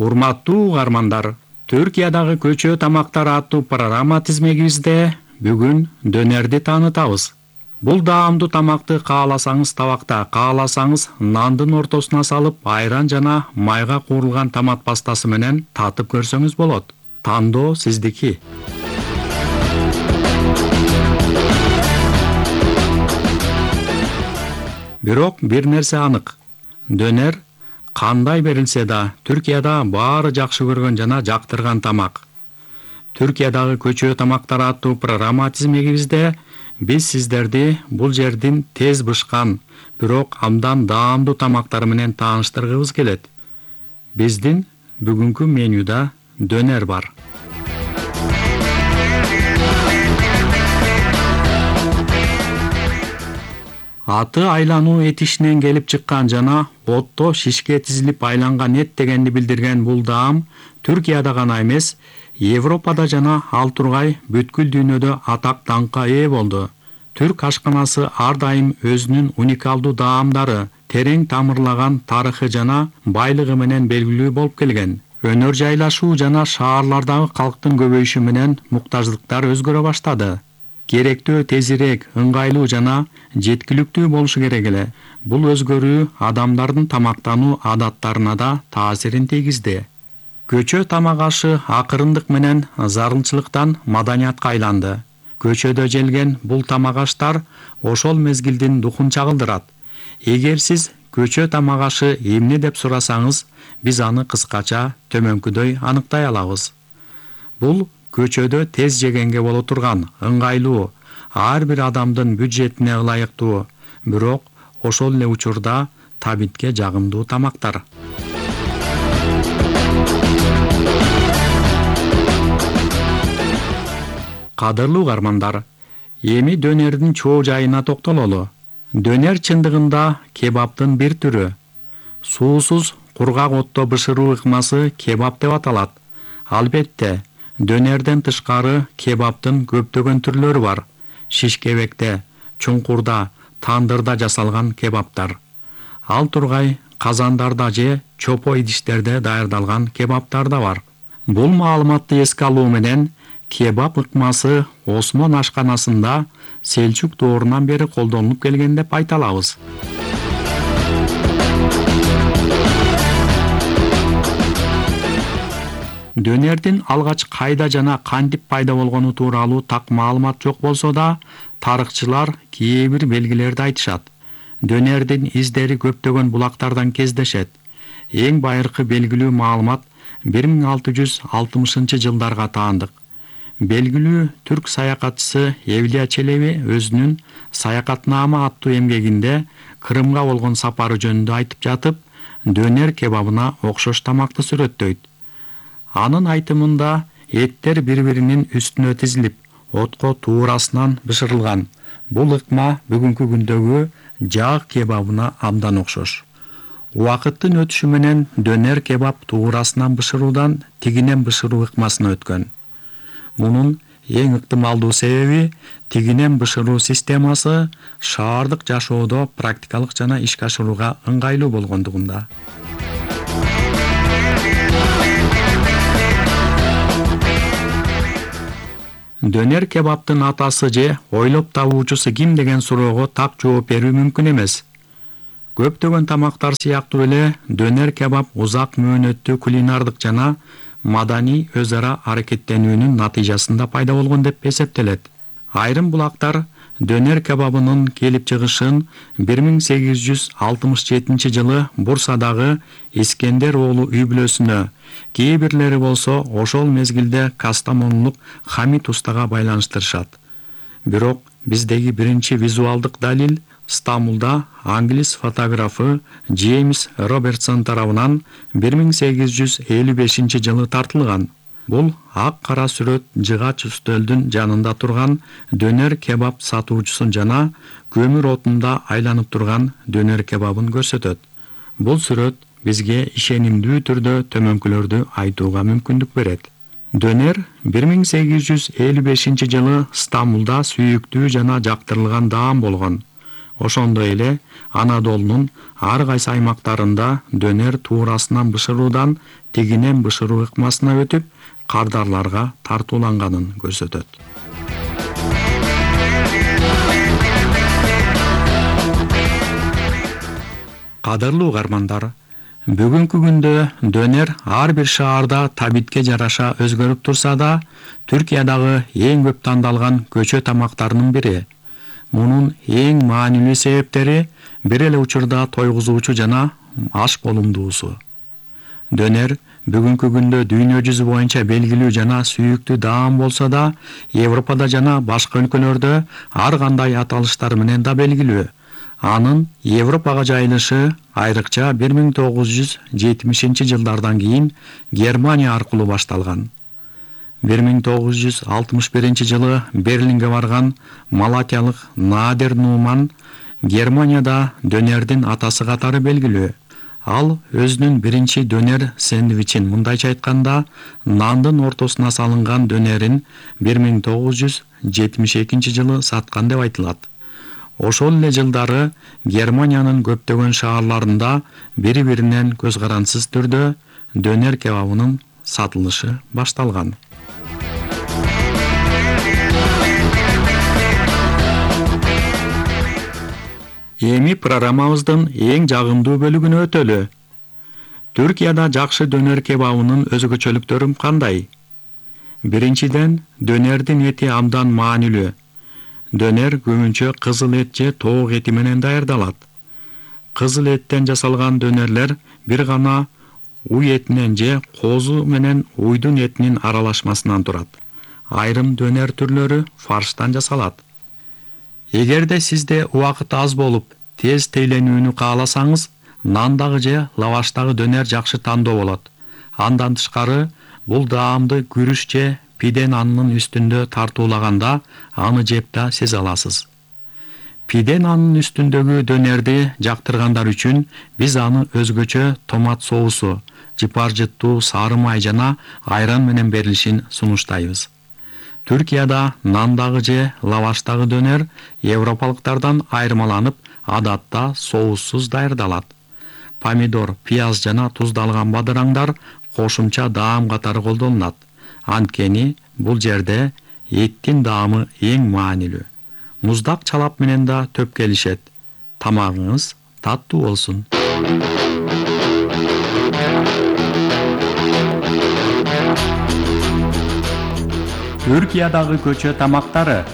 Урматтуу угармандар, Түркиядагы көчө тамактары аттуу программа тизмегибизде бүгүн дөнерди таанытабыз. Бул даамдуу тамакты кааласаңыз табакта, кааласаңыз нандын ортосуна салып, айран жана майга куурулган томат пастасы менен татып көрсөңүз болот. Тандоо сиздики. Бирок бир нерсе анык. Дөнер кандай берилсе да Түркияда баары жакшы көргөн жана жактырган тамак. Түркиядагы көчө тамактары аттуу программа тизмегибизде биз сиздерди бул жердин тез бышкан, бирок абдан даамдуу тамактары менен тааныштыргыбыз келет. Биздин бүгүнкү менюда дөнер бар. Аты айлануу этишинен келип чыккан жана отто шишке тизилип айланган эт дегенди билдирген бул даам Түркияда гана эмес, Европада жана ал тургай бүткүл дүйнөдө атак даңкка ээ болду. Түрк ашканасы ар дайым өзүнүн уникалдуу даамдары, терең тамырлаган тарыхы жана байлыгы менен белгилүү болуп келген. Өнөр жайлашуу жана шаарлардагы калктын көбөйүшү менен муктаждыктар өзгөрө баштады. Керектөө тезирээк, ыңгайлуу жана жеткиликтүү болушу керек эле. Бул өзгөрүү адамдардын тамактануу адаттарына да таасирин тийгизди. Көчө тамак ашы акырындык менен зарылчылыктан маданиятка айланды. Көчөдө желген бул тамак аштар ошол мезгилдин духун чагылдырат. Эгер сиз көчө тамак ашы эмне деп сурасаңыз, биз аны кыскача төмөнкүдөй аныктай алабыз. Бул көчөдө тез жегенге боло турган, ыңгайлуу, ар бир адамдын бюджетине ылайыктуу, бирок ошол эле учурда табитке жагымдуу тамактар. Кадырлуу угармандар, эми дөнердин чоо жайына токтололу. Дөнер чындыгында кебаптын бир түрү. Суусуз кургак отто бышыруу ыкмасы кебап деп аталат. Албетте, дөнерден тышкары кебаптын көптөгөн түрлөрү бар. Шишкебекте, чуңкурда, тандырда жасалган кебаптар. Ал тургай казандарда же чопо идиштерде даярдалган кебаптар да бар. Бул маалыматты эске алуу менен кебап ыкмасы Осмон ашканасында Селчук доорунан бери колдонулуп келген деп айта алабыз. Дөнердин алгач кайда жана кантип пайда болгону тууралуу так маалымат жок болсо да, тарыхчылар кээ бир белгилерди айтышат. Дөнердин издери көптөгөн булактардан кездешет. Эң байыркы белгилүү маалымат 1660 жылдарга таандык. Белгилүү түрк саякатчысы Эвлия Челеби өзүнүн Саякатнама аттуу эмгегинде Крымга болгон сапары жөнүндө айтып жатып, дөнер кебабына окшош тамакты сүрөттөйт. Анын айтымында эттер бири-биринин үстүнө тизилип, отко туурасынан бышырылган. Бул ыкма бүгүнкү күндөгү жаак кебабына абдан окшош. Убакыттын өтүшү менен дөнер кебаб туурасынан бышыруудан тигинен бышыруу ыкмасына өткөн. Мунун эң ыктымалдуу себеби тигинен бышыруу системасы шаардык жашоодо практикалык жана ишке ашырууга ыңгайлуу болгондугунда. Дөнер кебаптын атасы же ойлоп табуучусу ким деген суроого так жооп берүү мүмкүн эмес. Көптөгөн тамактар сыяктуу эле дөнер кебаб узак мөөнөттүү кулинардык жана маданий өз ара аракеттенүүнүн натыйжасында пайда болгон деп эсептелет. Айрым булактар дөнер кебабынын келип чыгышын 1867 жылы Бурсадагы Искендер оолу үй бүлөсүнө, кээ бирлери болсо ошол мезгилде Кастамонулук Хамит устага байланыштырышат. Бирок биздеги биринчи визуалдык далил Стамбулда англис фотографы Джеймс Робертсон тарабынан 1855 жылы тартылган. Бул ак-кара сүрөт жыгач үстөлдүн жанында турган дөнер кебаб сатуучусун жана көмүр отунда айланып турган дөнер кебабын көрсөтөт. Бул сүрөт бизге ишенимдүү түрдө төмөнкүлөрдү айтууга мүмкүндүк берет. Дөнер 1855 жылы Стамбулда сүйүктүү жана жактырылган даам болгон. Ошондой эле Анадолунун ар кайсы аймактарында дөнер туурасынан бышыруудан тигинен бышыруу ыкмасына өтүп, кардарларга тартууланганын көрсөтөт. Кадырлуу угармандар, бүгүнкү күндө дөнер ар бир шаарда табитке жараша өзгөрүп турса да, Түркиядагы эң көп тандалган көчө тамактарынын бири. Мунун эң маанилүү себептери бир эле учурда тойгузуучу жана аш болумдуусу. Дөнер бүгүнкү күндө дүйнө жүзү боюнча белгилүү жана сүйүктүү даам болсо да, Европада жана башка өлкөлөрдө ар кандай аталыштар менен да белгилүү. Анын Европага жайылышы айрыкча 1970-жылдардан кийин Германия аркылуу башталган. 1961-жылы Берлинге барган малатиялык Надер Нуман Германияда дөнердин атасы катары белгилүү. Ал өзүнүн биринчи дөнер сэндвичин мындайча айтканда, нандын ортосуна салынган дөнерин 1972-жылы саткан деп айтылат. Ошол эле жылдары Германиянын көптөгөн шаарларында бири-биринен көз карансыз түрдө дөнер кебабынын сатылышы башталган. Эми программабыздын эң жагымдуу бөлүгүнө өтөлү. Түркияда жакшы дөнер кебабынын өзгөчөлүктөрү кандай? Биринчиден, дөнердин эти абдан маанилүү. Дөнер көбүнчө кызыл эт же тоок эти менен даярдалат. Кызыл эттен жасалган дөнерлер бир гана уй этинен же козу менен уйдун этинин аралашмасынан турат. Айрым дөнер түрлөрү фарштан жасалат. Эгерде сизде убакыт аз болуп, тез тейленүүнү кааласаңыз, нандагы же лаваштагы дөнер жакшы тандоо болот. Андан тышкары, бул даамды күрүч же пиде нанынын үстүндө тартуулаганда аны жеп да сезе аласыз. Пиде нанынын үстүндөгү дөнерди жактыргандар үчүн биз аны өзгөчө томат соусу, жыпар-жыттуу сары май жана айран менен берилишин сунуштайбыз. Түркияда нандагы же лаваштагы дөнер европалыктардан айырмаланып, адатта соуссуз даярдалат. Помидор, пияз жана туздалган бадыраңдар кошумча даам катары колдонулат. Анткени бул жерде эттин даамы эң маанилүү. Муздак чалап менен да төп келишет. Тамагыңыз таттуу болсун. Түркиядагы көчө тамактары.